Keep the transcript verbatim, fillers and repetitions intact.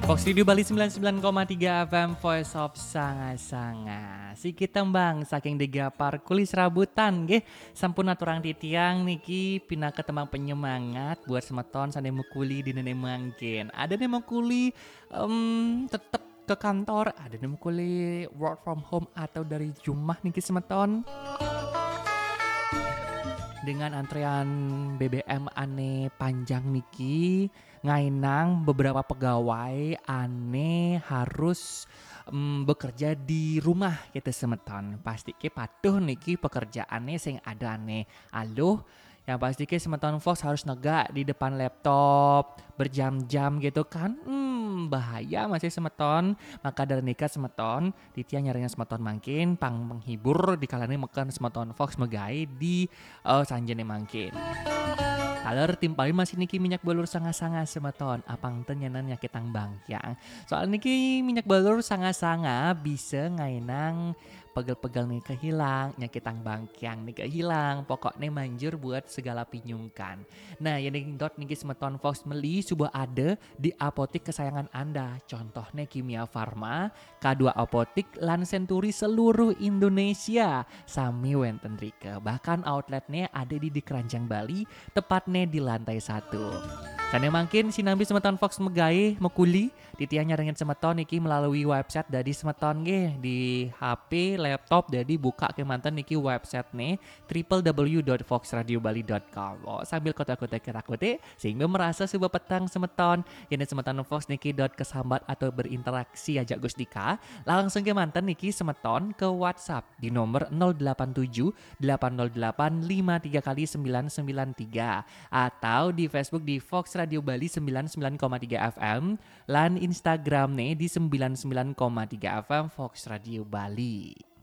Fox Radio Bali sembilan sembilan koma tiga F M, Voice of Sanga-Sanga. Sikit tembang saking Degapar Kulis Rabutan nggih. Sampun aturang titiang niki pinaka tembang penyemangat buat semeton sane mekuli dinene mangkin. Ada ne mekuli em, tetep ke kantor, ada ne mekuli work from home atau dari rumah niki semeton. Dengan antrean B B M ane panjang niki, ngainang beberapa pegawai ane harus em, bekerja di rumah kita semeton. Pasti ke patuh niki pekerjaane sing ada ane aluh. Yang pasti ke semeton Fox harus negak di depan laptop berjam-jam gitu kan. Hmm, bahaya masih semeton. Maka dari nika semeton, titiang nyarengin semeton mangkin pang menghibur di kalane meken semeton Fox megai di eh, sanjene mangkin. Taler timpalin masih niki minyak belur sanga-sanga semeton. Apang ten nyanan nyakitang bangkiang. Soal niki minyak belur sanga-sanga bisa ngainang pegel-pegel nih kehilang, nyakitang bangkiang nih kehilang. Pokoknya manjur buat segala pinyungkan. Nah, yang dot niki semeton Fox meli sudah ada di apotik kesayangan Anda. Contohnya Kimia Farma, K dua Apotik, lan Century seluruh Indonesia. Sami wenten rike. Bahkan outletnya ada di, di Keranjang Bali, tepatnya di lantai satu. Sane mangkin sinambi semeton Fox megai, mekuli, titiang nyarengin semeton niki melalui website dadi semeton nggih di H P, laptop, dadi buka kemanten niki website ne triple W dot fox radio bali dot com. Oh, sambil kotak-kotak kerakutik, sehingga merasa sebuah petang semeton. Yen semeton Fox niki dot kesambat atau berinteraksi ajak Gustika, langsung kemanten niki semeton ke WhatsApp di nomor nol delapan tujuh delapan nol delapan lima tiga kali sembilan sembilan tiga atau di Facebook di Fox Radio Bali sembilan sembilan koma tiga F M, lan Instagram ne di sembilan sembilan koma tiga F M Fox Radio Bali.